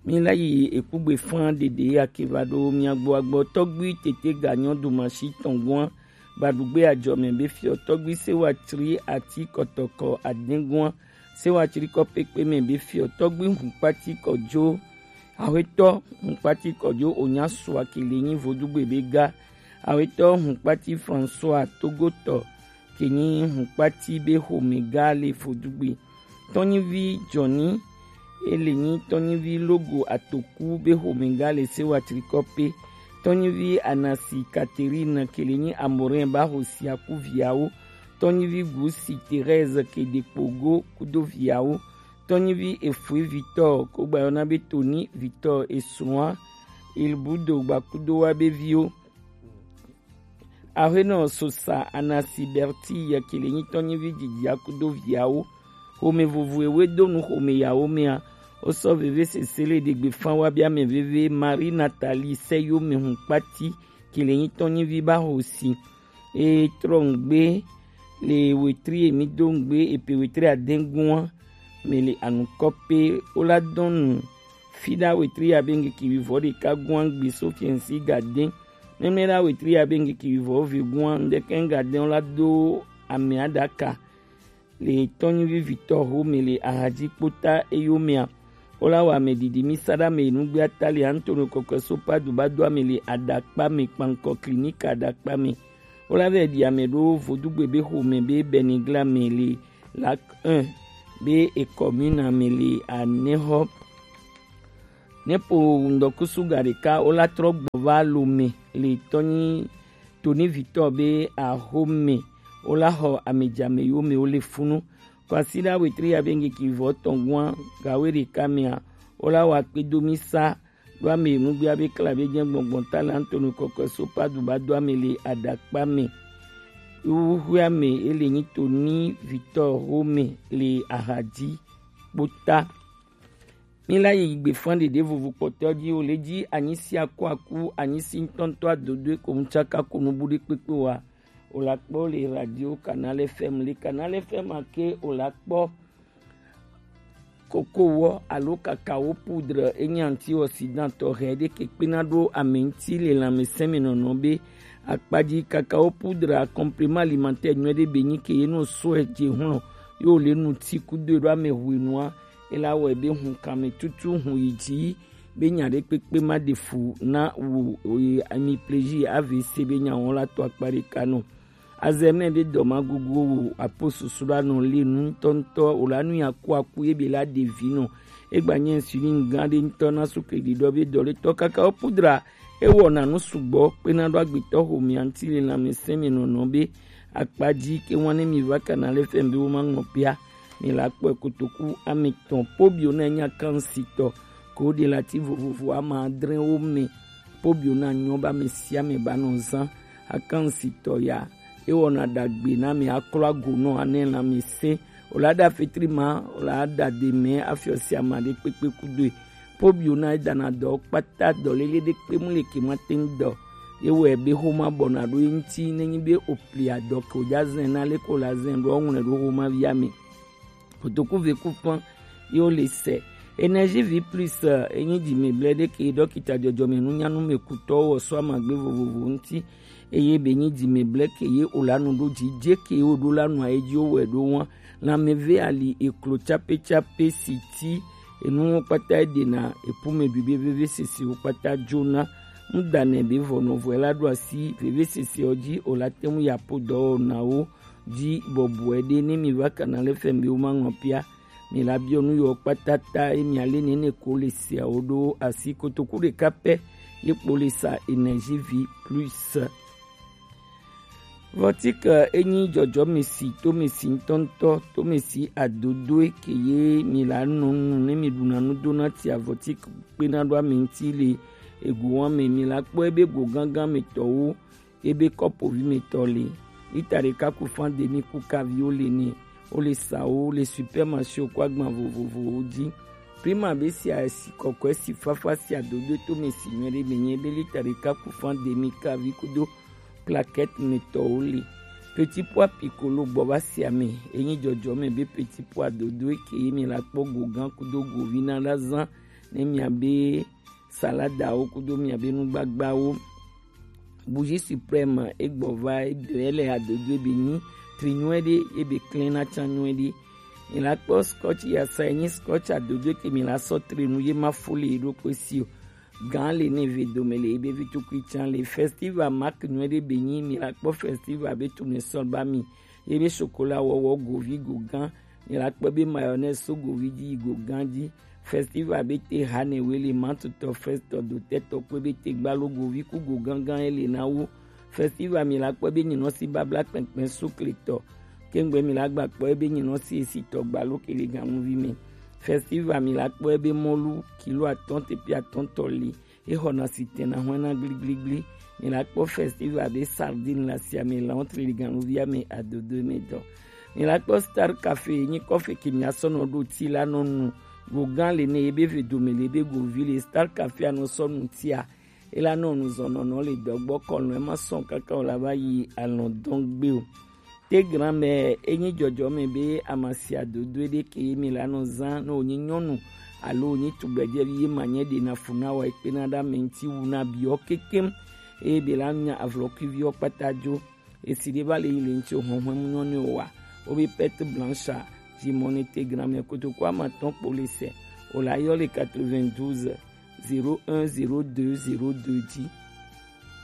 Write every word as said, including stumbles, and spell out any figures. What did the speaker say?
Mi la yi ekugbe fan dede ya ke va ɖo mia gbɔ agbɔ. Tɔgbui tete ga nyɔ do masi tɔn gɔn. Baɖugbe ajɔmɛ be fiɔ tɔgbui sewa tri ati kɔtɔkɔ adɛngua. Sewa tri kɔ pekpe mɛ be fiɔ tɔgbui hunkpati kɔjo. Awetɔ hunkpati kɔjo onya sua kele nyi vodugbe be ga. Awetɔ hunkpati François Togotɔ ke nyi hunkpati be xomɛ ga le vodugbe. Tɔnyivi Johnny, ele nyi tɔnyivi Logo Atoku be xomɛ ga le sewa trikɔ pe. Tɔnyivi Anasi Catherine ke le nyi Amorin ba xosia ku viawo. Tɔnyivi Gusi Thérèse ke de kpogo kudo viawo. Tɔnyivi Efue Victor ko gba yɔna be Tony Victor esua Ilbudo gba kudo wa be viwo. Aƒenɔ Sosa Anasi Berti yɛ ke le nyi tɔnyivi didi akudo viawo. Xome vovo ewe do nu xome yawo mea. Wosɔ veve sese le ɖegbe fan wa bia mɛ veve Marie Nathalie sɛ yo mɛ hun kpati ke le nyi tɔnyivi ba xosi. E trɔ ŋgbe le wetri emi do ŋgbe epe wetri adɛngua mɛ le anukɔ pe wola dɔn nu. Fiɖa wetri abe ŋkeke wivɔ ɖeka gua ŋgbe so fiɛnsi gadɛn. Mɛmɛɖa wetri abe ŋkeke wivɔ ve gua ŋdɛkɛ ŋgadɛn wola do amɛ aɖaka. Le tɔnyivi vitɔ ho mɛ le ahadzi kpota eyo mɛa. Wola wa mɛ didi mi saɖa mɛ nugbe atali Antonio kɔkɔe so padu ba do ame le aɖakpa mɛ kpankɔ klinika aɖakpa mɛ. Wola vɛ ɖi ame ɖo vodugbe be xome be Benigla mɛ le Lac un be ekɔmina mɛ le anɛxɔ. Nepo ŋdɔkusu ga ɖeka wola trɔ gbɔ va Lome le tɔnyi tonivitɔ be axome wola xɔ amedzame yo mɛ wo le funu. Kwasiɖa wetri abe ŋkeke vɔ tɔn gua gawe ɖeka mɛa wola wa kpedo mi sa ɖo ame nugbea be kla be jɛ gbɔngbɔn ta le Antonio kɔkɔe so padu ba do ame le aɖakpa mɛ. Wuxue ame ele nyi to ni vitɔ Rome le ahadzi kpota. Mi la yi gbefan ɖeɖe vovo kpɔtɔ dzi o le dzi anyi si aku aku anyi si ŋutɔŋutɔ adodoe ko ŋutsaka ko nubu ɖe kpekpe wa. O la kpɔ le radio Canal F M le Canal F M ake o la kpɔ. Kokowɔ alo kakao poudre enyi antioxydant tɔxɛ ɖe ke kpena ɖo ame ŋuti le lãmesẽmenɔnɔ be akpadzi. Kakao poudre complément alimentaire nyuie ɖe be nyi ke ye no sɔe dze hlɔ̃ yo le nu ti kudo ɖo ame hwenua ela wɔe be hun kame tutu hun yi dzi be nya ɖe kpekpe ma ɖe fu na wo oye ami plaisir A V C be nya wɔn la to akpa ɖeka nɔ. Azɛmɛ be dɔmagogo wo apo susu la nɔ le nu ŋutɔŋutɔ o la nu ya ku aku ye be la ɖevi nɔ. Egba nye insulin gã ɖe ŋutɔ na sukle ɖiɖɔ be dɔletɔ kakao poudre ewɔna nu sugbɔ kpena ɖo agbetɔ xomea ŋuti le lãmesẽmenɔnɔ be akpadzi ke wan ne mi va Canal F M be wo ma ŋlɔ pea. Mi la kpɔe kotoku ame etɔ̃ pobio na nya kansitɔ ko ɖe lati vovovo ame adre wo me. Pobio na nyɔ ba ame sia ame ba nɔ zã akansitɔ ya. Ewɔna ɖagbe na mi aklɔ ago nɔ anɛ lãmesẽ. O la ɖa fetri ma o la ɖa de mɛ afiɔ sia ma ɖe kpekpe kudoe. Pobio na edana dɔ kpata dɔ lele ɖe kpe mu le ke ma te ŋu dɔ. Ewɔe be xoma bɔna ɖo ye ŋuti nenyi be o pli adɔ ke o dza zɛn na le ko la zɛn ɖo ɔŋlɛ ɖo xoma via me. Kotoku ve ku fã ye wo le sɛ. Energie vie plus enyi dzimeblɛ ɖe ke dɔkita dzɔdzɔme nunyanu me kutɔwo wɔ so amagbe vovovo ŋuti. Eye be nyi dzimeblɛ ke ye o la nu ɖo dzi dze ke ye o ɖo la nu aye dzi wo wɛ ɖo wa. Lãmeve ali eklo tsape tsape si ti enuwo kpata eɖena epume ɖui be vevesese wo kpata dzona. Ŋudanɛ be vɔnɔvɔe la ɖo asi vevesese wo dzi o la te ŋu ya po dɔwɔnawo dzi bɔbɔe ɖe ne mi va Canal F M be wo ma ŋlɔ pia. Mi la biɔ nu yɔ kpata ta ye mi ale nene ko le siawo ɖo asi kotoku ɖeka pɛ ye kpo le sa Energie vie plus. Vɔtik enyi dzɔdzɔmesi tomesi ŋutɔŋutɔ tomesi adodoe ke ye mi la nɔ nu ne mi ɖuna nu dona tia vɔtik kpena ɖo ame ŋuti le ego wa me mi la kpɔ ebe go gãgã me tɔwo ebe kɔpovi me tɔ le lita ɖeka ku fan demi ku kavi wo le ne wo le sa wo le supermarché ko agban vovovowo dzi. Prima be sia esi kɔkɔe si fafa sia dodo to me si nyuie ɖe me nye be lita ɖeka ku fan demi kavi kudo plaquette me tɔwo le. Petit pois piccolo gbɔ va sia me enyi dzɔdzɔ me be petit pois dodo eke ye mi la kpɔ go gã kudo govi na la zã ne miabe saladawo kudo miabe nugbagbawo. Bougie suprême egbɔ va ebe ele adodo ebe nyi tri nyuie ɖe ebe klẽ na can nyuie ɖe. Mi la kpɔ scotch yasa enyi scotch adodo ke mi la sɔ tre nu ye ma fo le ɖo kpe si o. Gan le ne ve dome le ebe vi tukui can le festival mark nyuie ɖe be nyi mi la kpɔ festival be tune sɔl ba mi. Ye be chocolat wɔwɔ govi go gan. Mi la kpɔ be mayonnaise so govi dzi yi go gan dzi. Festival be te hane wele mantutɔ festɔ dotɛtɔ kpe be te gbalo govi ku go gangan ele na wo. Festival mi la kpɔ be nyinɔ si babla kpɛnkpɛn sukletɔ. Kengbe mi la gba kpɔ be nyinɔ si esitɔ gbalo kele ganuvi me. Festival mi la kpɔ be mɔlu kilo atɔn tepi atɔn tɔ li. Exɔna si tena hɔna gligligli. Mi la kpɔ festival be sardine la sia me la ɔntri li ganuvia me adodo me dɔ. Mi la kpɔ star cafe nyi kɔfe ke mi asɔ nɔ ɖo ti la nɔ nu. Go gan le ne ebe ve dome le ebe go vi le star cafe anɔ sɔ nu tia. Ela nɔ nu zɔnɔ nɔ le dɔgbɔ kɔlɔn ema sɔn kaka o la va yi alɔn dɔn gbe o. Te gran mɛ enyi jɔjɔ mɛ be amasia dodo ɖe ke ye mi la nɔ zan ne wonyi nyɔnu alo wonyi tugbɛjɛvi ye ma nyɛ ɖe na fu na wa ekpe na ɖa mɛ ŋti wu na biɔ kekem. Eye be la nya avlɔkuiviɔ kpata jo. Esi ɖe va le yi le ŋti o hɔnhɔn mu nyɔnu o wa. Wo be perte blanche a ji mɔ ne te gran mɛ kotoku ama tɔn kpo le sɛ. O la yɔ le quatre-vingt-douze zéro un zéro deux zéro deux ji.